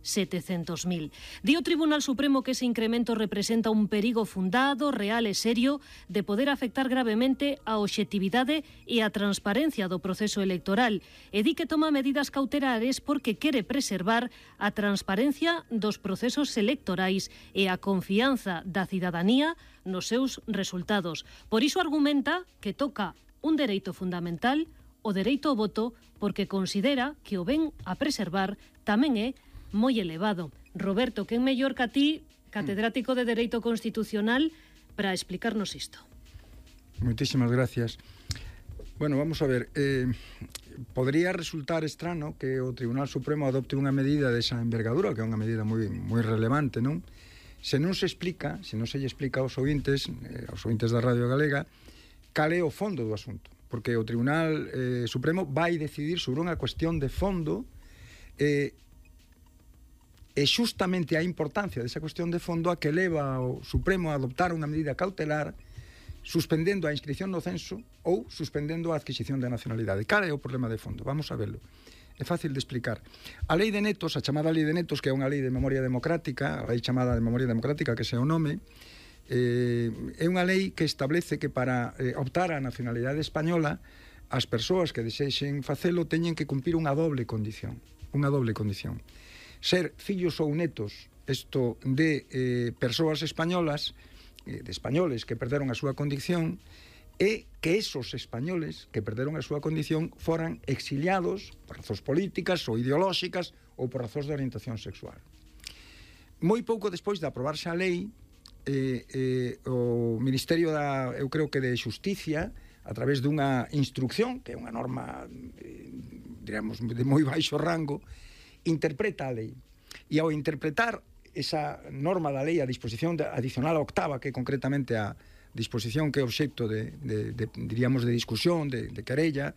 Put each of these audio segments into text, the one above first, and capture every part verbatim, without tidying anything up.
setecentos mil. Di o Tribunal Supremo que ese incremento representa un perigo fundado, real e serio de poder afectar gravemente a obxectividade e a transparencia do proceso electoral e di que toma medidas cautelares porque quere preservar a transparencia dos procesos electorais e a confianza da cidadanía nos seus resultados. Por iso argumenta que toca un dereito fundamental, o dereito ao voto, porque considera que o ben a preservar tamén é moi elevado. Roberto, quen mellor que a ti, catedrático de Dereito Constitucional, para explicarnos isto? Moitísimas gracias. Bueno, vamos a ver, eh, podría resultar extraño que o Tribunal Supremo adopte unha medida desa envergadura, que é unha medida moi, moi relevante, non? Se non se explica, se non se lle explica aos ouvintes, eh, aos ouvintes da Radio Galega, cal é o fondo do asunto. Porque o Tribunal eh, Supremo vai decidir sobre unha cuestión de fondo eh, e xustamente a importancia desa cuestión de fondo a que leva o Supremo a adoptar unha medida cautelar suspendendo a inscripción no censo ou suspendendo a adquisición da nacionalidade. Cal é o problema de fondo? Vamos a verlo. É fácil de explicar. A lei de netos, a chamada lei de netos, que é unha lei de memoria democrática, a lei chamada de memoria democrática, que é o nome, eh, é unha lei que establece que para eh, optar á nacionalidade española as persoas que desexen facelo teñen que cumprir unha doble condición. Unha doble condición. Ser fillos ou netos, isto de eh, persoas españolas, eh, de españoles que perderon a súa condición, e que esos españoles que perderon a súa condición foran exiliados por razóns políticas ou ideolóxicas ou por razóns de orientación sexual. Moi pouco despois de aprobarse a lei, eh, eh, o Ministerio da, eu creo que de Xusticia, a través dunha instrucción, que é unha norma, eh, diremos, de moi baixo rango, interpreta a lei. E ao interpretar esa norma da lei, a disposición adicional a octava, que é concretamente a disposición que é obxecto de, de, de diríamos, de discusión, de, de querella,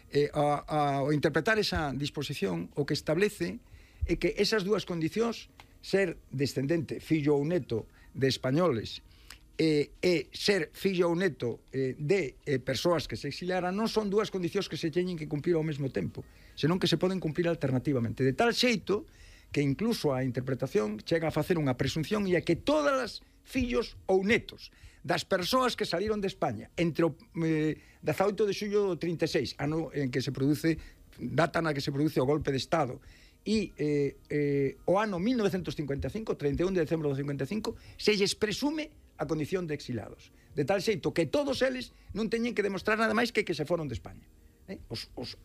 eh, a, a, ao interpretar esa disposición, o que establece é que esas dúas condicións, ser descendente, fillo ou neto de españoles, e, e ser fillo ou neto eh, de eh, persoas que se exiliaran, non son dúas condicións que se teñen que cumplir ao mesmo tempo, senón que se poden cumplir alternativamente, de tal xeito que incluso a interpretación chega a facer unha presunción e a que todas as fillos ou netos das persoas que saliron de España entre o eh, dezaoito de xullo do trinta e seis, ano en que se produce, data na que se produce o golpe de Estado, e eh, eh, o ano mil novecentos cincuenta e cinco, trinta e un de decembro do cincuenta e cinco, se lles presume a condición de exilados, de tal xeito que todos eles non teñen que demostrar nada máis que que se foron de España, eh? os, os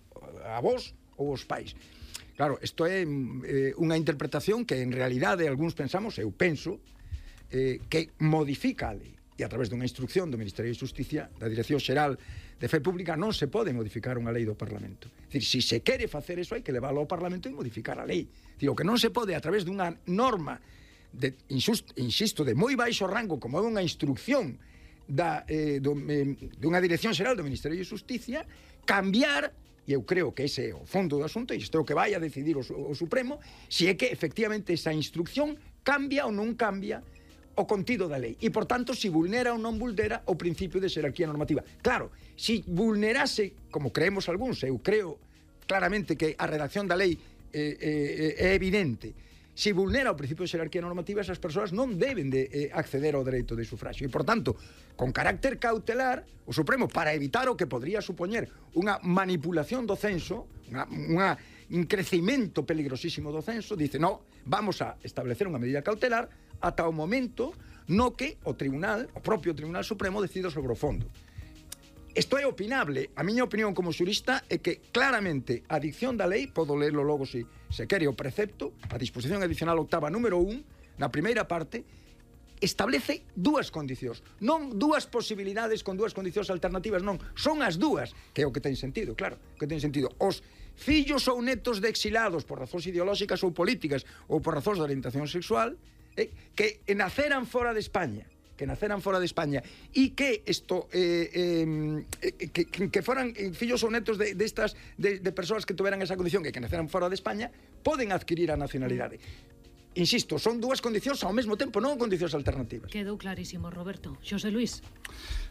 avós ou os pais. Claro, isto é eh, unha interpretación que en realidade algúns pensamos, eu penso, eh, que modifica a lei, e a través dunha instrucción do Ministerio de Xusticia, da Dirección Xeral de Fe Pública, non se pode modificar unha lei do Parlamento. É dicir, se se quere facer eso, hai que leválo ao Parlamento e modificar a lei. É dicir, o que non se pode a través dunha norma de, insusto, insisto, de moi baixo rango, como é unha instrucción da, eh, do, eh, dunha Dirección Xeral do Ministerio de Xusticia, cambiar, e eu creo que ese é o fondo do asunto, e isto é o que vai a decidir o, o Supremo, se é que efectivamente esa instrucción cambia ou non cambia o contido da lei, e por tanto se vulnera ou non vulnera o principio de xerarquía normativa. Claro, se vulnerase, como creemos algúns, eu creo claramente que a redacción da lei eh, eh, é evidente, se vulnera o principio de xerarquía normativa, esas persoas non deben de eh, acceder ao dereito de sufragio. E, por tanto, con carácter cautelar, o Supremo, para evitar o que podría supoñer unha manipulación do censo, unha, unha, un crecimento peligrosísimo do censo, dice, no, vamos a establecer unha medida cautelar ata o momento no que o Tribunal, o propio Tribunal Supremo, decida sobre o fondo. Isto é opinable. A miña opinión como xurista é que claramente a dicción da lei, podo lerlo logo se, se quere o precepto, a disposición adicional octava número un, na primeira parte, establece dúas condicións, non dúas posibilidades con dúas condicións alternativas, non, son as dúas, que é o que ten sentido, claro, que ten sentido. Os fillos ou netos de exilados por razóns ideolóxicas ou políticas ou por razóns de orientación sexual, eh, que naceran fora de España, que naceran fora de España e que isto eh, eh, que, que foran fillos ou netos de, de estas de, de persoas que tuveran esa condición que, que naceran fora de España poden adquirir a nacionalidade. Insisto, son dúas condicións ao mesmo tempo, non condicións alternativas. Quedou clarísimo, Roberto. Xosé Luís.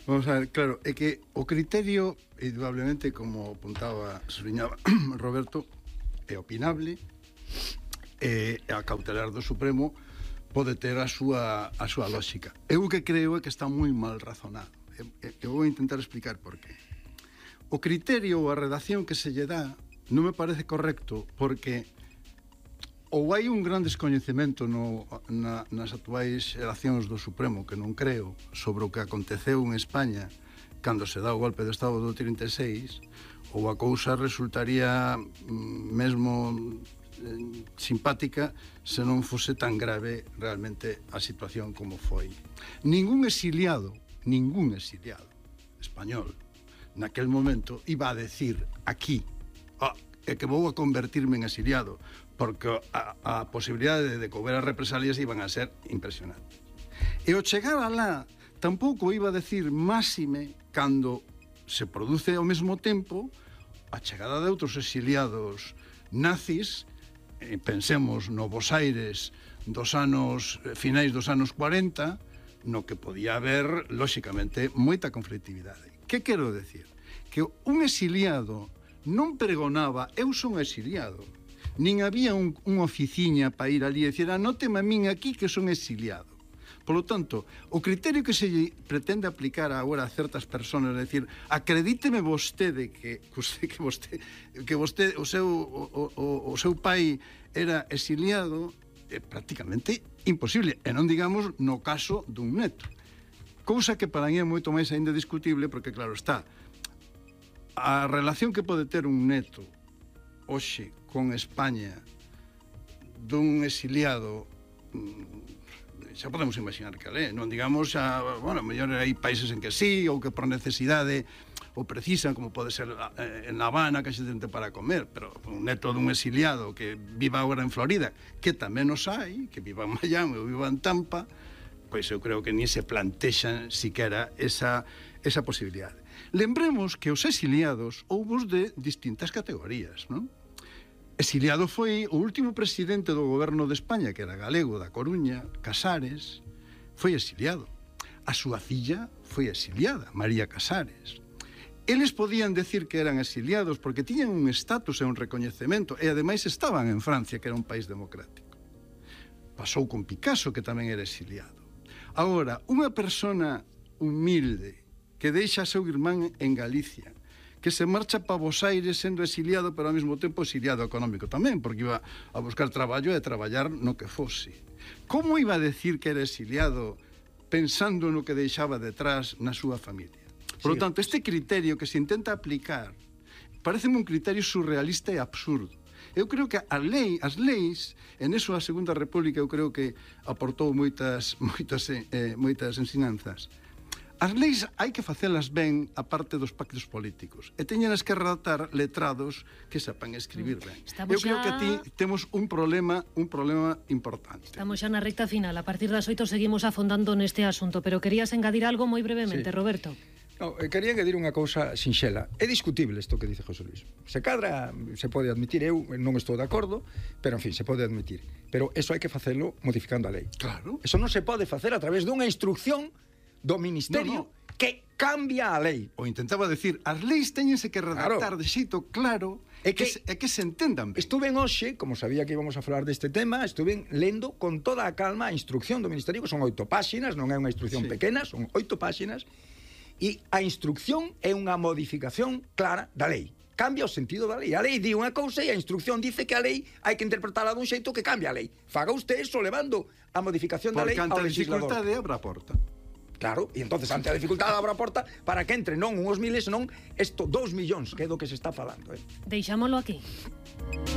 Vamos a ver, claro, é que o criterio, indudablemente, como apuntaba, subliñaba Roberto, é opinable, E a cautelar do Supremo pode ter a súa, a súa lógica. Eu o que creo é que está moi mal razonado. Eu vou intentar explicar por qué. O criterio ou a redacción que se lle dá non me parece correcto, porque ou hai un gran descoñecemento no, na, nas actuais xeracións do Supremo, que non creo, sobre o que aconteceu en España cando se dá o golpe de Estado do trinta e seis, ou a cousa resultaría mesmo eh, simpática se non fose tan grave realmente a situación como foi. Ningún exiliado, ningún exiliado español naquel momento iba a decir aquí oh, é que vou a convertirme en exiliado, porque a, a posibilidade de que houbera represalias iban a ser impresionantes. E o chegar alá tampouco iba a decir máxime cando se produce ao mesmo tempo a chegada de outros exiliados nazis, eh, pensemos no Bos Aires dos anos, finais dos anos cuarenta, no que podía haber, lóxicamente, moita conflictividade. Que quero decir? Que un exiliado non pregonaba eu son exiliado, nin había un, unha oficiña para ir ali e dicir anóteme a min aquí que son exiliado. Por lo tanto, o criterio que se pretende aplicar agora a certas persoas, é dicir, acredíteme vostede que que vostede, que vostede o seu o, o, o seu pai era exiliado, é prácticamente imposible, e non digamos no caso dun neto. Cousa que para mí é moito máis ainda discutible, porque claro está, a relación que pode ter un neto hoxe con España dun exiliado, xa podemos imaginar que é, non digamos, xa, bueno, mellor hai países en que sí, ou que por necesidade o precisan, como pode ser en La Habana, que xe tente para comer, pero un neto dun exiliado que viva agora en Florida, que tamén os hai, que viva en Miami ou viva en Tampa, pois eu creo que ni se plantexan siquera esa, esa posibilidade. Lembremos que os exiliados houbos de distintas categorías, non? Exiliado foi o último presidente do goberno de España, que era galego, da Coruña, Casares, foi exiliado. A súa filla foi exiliada, María Casares. Eles podían decir que eran exiliados porque tiñan un estatus e un recoñecemento, e ademais estaban en Francia, que era un país democrático. Pasou con Picasso, que tamén era exiliado. Agora, unha persona humilde que deixa a seu irmán en Galicia, que se marcha para Bos Aires sendo exiliado, pero ao mesmo tempo exiliado económico tamén, porque iba a buscar traballo e a traballar no que fose. Como iba a decir que era exiliado pensando no que deixaba detrás na súa familia? Por lo tanto, este criterio que se intenta aplicar pareceme un criterio surrealista e absurdo. Eu creo que a lei, as leis, en eso a Segunda República eu creo que aportou moitas, moitas, eh, moitas ensinanzas. As leis hai que facelas ben a parte dos pactos políticos e teñenas que redactar letrados que sepan escribir ben. Estamos Eu creo xa... que aquí temos un problema un problema importante. Estamos xa na recta final. A partir das oito seguimos afondando neste asunto, pero querías engadir algo moi brevemente, sí. Roberto. No, quería engadir unha cousa sinxela. É discutible isto que dice José Luis. Se cadra, se pode admitir, eu non estou de acordo, pero en fin, se pode admitir. Pero eso hai que facelo modificando a lei. Claro. Eso non se pode facer a través dunha instrucción do Ministerio no, no. que cambia a lei. O intentaba decir, as leis teñense que redactar claro. de xeito claro e que, que, que se entendan ben. Estuve hoxe, como sabía que íbamos a falar deste tema, estuve lendo con toda a calma a instrucción do Ministerio, que son oito páxinas, non é unha instrucción sí. pequena, son oito páxinas, e a instrucción é unha modificación clara da lei. Cambia o sentido da lei. A lei di unha cousa e a instrucción dice que a lei hai que interpretarla dun xeito que cambia a lei. Faga usted eso levando a modificación da lei ao legislador. Porque ante a dificultade abra a porta. Claro, e entonces ante a dificultade abra a porta para que entre non unhos miles, senón esto, dous millóns, que é do que se está falando. Eh? Deixámolo aquí.